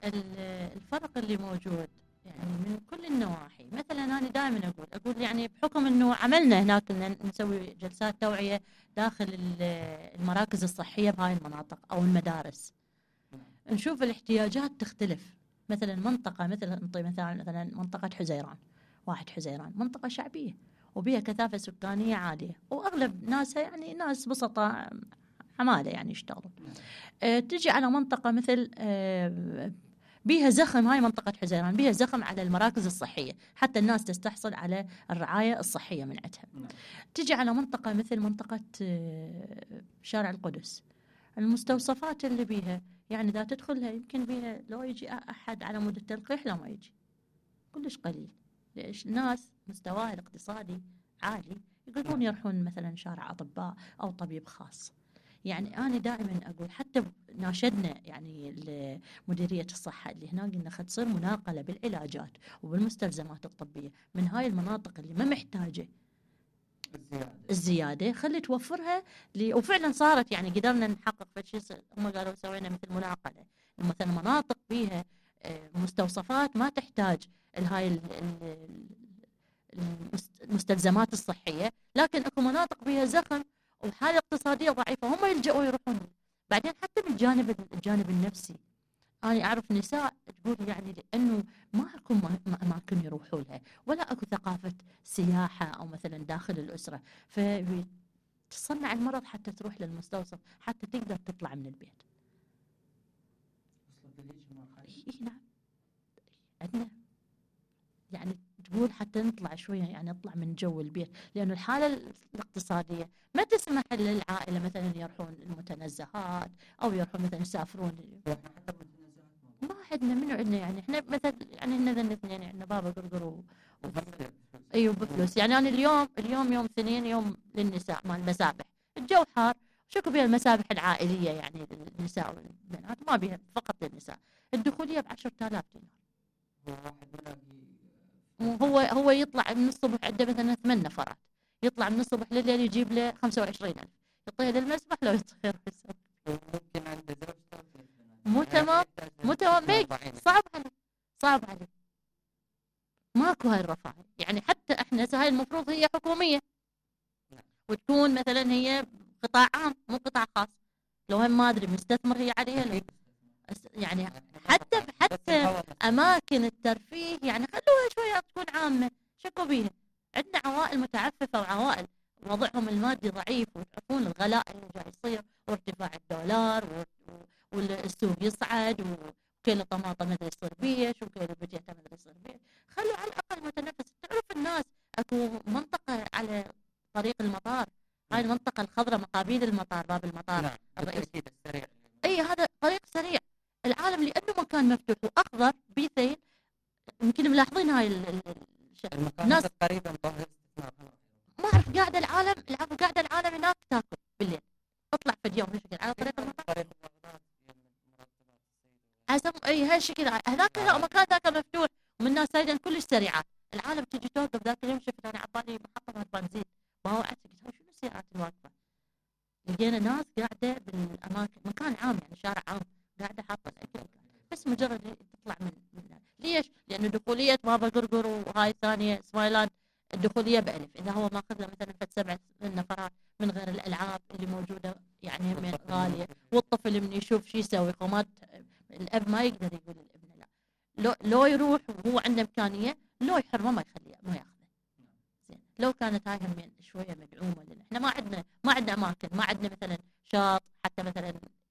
الفرق اللي موجود يعني من كل النواحي. مثلا انا دائما اقول يعني بحكم انه عملنا هناك ان نسوي جلسات توعيه داخل المراكز الصحيه بهاي المناطق او المدارس، نشوف الاحتياجات تختلف. مثلا منطقه مثلا منطقه حزيران، واحد حزيران منطقه شعبيه وبها كثافه سكانيه عاليه واغلب ناسها يعني ناس بسطاء حماله يعني يشتغلون. تجي على منطقه مثل بيها زخم، هاي منطقة حزيران بيها زخم على المراكز الصحية حتى الناس تستحصل على الرعاية الصحية من عندها. تجي على منطقة مثل منطقة شارع القدس، المستوصفات اللي بيها يعني إذا تدخلها يمكن بيها لو يجي أحد على مود التلقيح لا ما يجي، كلش قليل. ليش؟ ناس مستواها الاقتصادي عالي يقدرون يروحون مثلا شارع أطباء أو طبيب خاص. يعني أنا دائما أقول حتى ناشدنا يعني مديرية الصحة اللي هناك قلنا خد تصير مناقلة بالعلاجات وبالمستلزمات الطبية من هاي المناطق اللي ما محتاجة الزيادة خلي توفرها وفعلا صارت يعني قدرنا نحقق في شيء. هم قالوا سوينا مثل مناقلة مثلا مناطق فيها مستوصفات ما تحتاج هاي المستلزمات الصحية، لكن اكو مناطق فيها زخم وحالة اقتصادية ضعيفة هم يلجؤوا يروحون. بعدين حتى بالجانب النفسي أنا أعرف نساء تقول يعني لأنه ما أكو أماكن يروحوا لها ولا أكو ثقافة سياحة أو مثلا داخل الأسرة، فتصنع المرض حتى تروح للمستوصف حتى تقدر تطلع من البيت. نعم عندنا يعني تقول حتى نطلع شوية يعني نطلع من جو البيت، لأنه الحالة الاقتصادية ما تسمح للعائلة مثلا يروحون المتنزهات أو يروحون مثلا يسافرون. ما عندنا منو عندنا يعني احنا مثلا يعني احنا ذا الاثنين يعني بابا قرقر ايوه بفلوس. يعني انا اليوم يوم اثنين يوم للنساء مال المسابح، الجو حار شكو بها المسابح العائلية يعني للنساء والبنات ما بها فقط للنساء، الدخولية ب10,000 دينار. هو يطلع من الصبح عنده مثلا 8 نفرات، يطلع من الصبح لليل يجيب له 25,000 يعطيها للمسبح لو يطير ممكن عنده مو تمام صعب عليه ماكو هاي الرفاهية. يعني حتى احنا هاي المفروض هي حكومية وتكون مثلا هي قطاع عام مو قطاع خاص، لو هم ما ادري مستثمر هي عليها لو يعني حتى اماكن الترفيه يعني خلوها شويه تكون عامه. شكو بيها عندنا عوائل متعففه وعوائل وضعهم المادي ضعيف وتعرفون الغلاء اللي جاي يصير وارتفاع الدولار والسوق يصعد وكيلو طماطم مدري يصير بيش وكيلو بجيته مدري يصير بيش. خلوا على الاقل متنفس. تعرف الناس اكو منطقه على طريق المطار، هاي المنطقه الخضراء مقابل المطار باب المطار الرئيسي السريع، اي هذا طريق سريع. العالم لانه مكان مفتوح واخضر بيثين يمكن ملاحظين هاي الناس تقريبا ما اعرف قاعده العالم هناك تاكل بالليل اطلع في اليوم على طريق المطار حسب اي هالشكل. هذاك مكان ذاك مفتوح ومن الناس سايدين كلش سريعات. العالم تجي توقف. ذاك اليوم شفت انا عبالي محطه بنزين باوعت قلت شنو السيارات الواقفه، لقينا ناس قاعده بالاماكن مكان عام يعني شارع عام قاعده حاطه الاكل بس مجرد تطلع من ليش؟ لانه دخوليه بابا قرقر وهاي الثانيه سمايلاند الدخوليه ب1000، اذا هو ماخذ له مثلا 7 نفرات من غير الالعاب اللي موجوده يعني من غاليه، والطفل من يشوف شو يسوي قومات الاب ما يقدر يقول للابن لا لو يروح وهو عنده امكانيه لو يحرمه ما يخليه ما ياخذه. زين لو كانت هاي هم شويه مدعومه لنا احنا ما عندنا اماكن، ما عندنا مثلا شاطئ